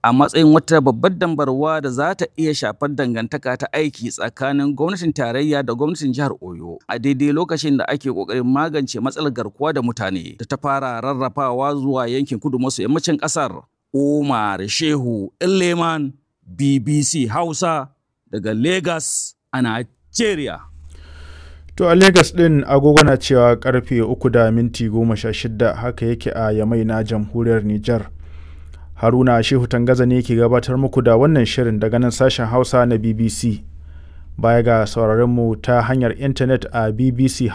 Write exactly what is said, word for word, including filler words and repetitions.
A matsayin wata babbar dambarwa da za ta iya shafar dangantaka ta aiki tsakanin gwamnatin tarayya da gwamnatin jihar Oyo a daidai lokacin da ake ƙoƙarin magance matsalar garkuwa da mutane da ta fara rarrafawa zuwa yankin kudu maso yammacin ƙasar. Umar Shehu Leman, B B C Hausa, daga Lagos a Najeriya. To a Legas ɗin agogo na cewa karfe uku da minti goma sha shida, haka yake a Yamai na Jamhuriyar Nijar. Haruna Shehu Tangaza ne ke gabatar muku da wannan shirin daga nan sashen Hausa na B B C. Baya ga sauraron mu ta hanyar intanet a bbchausa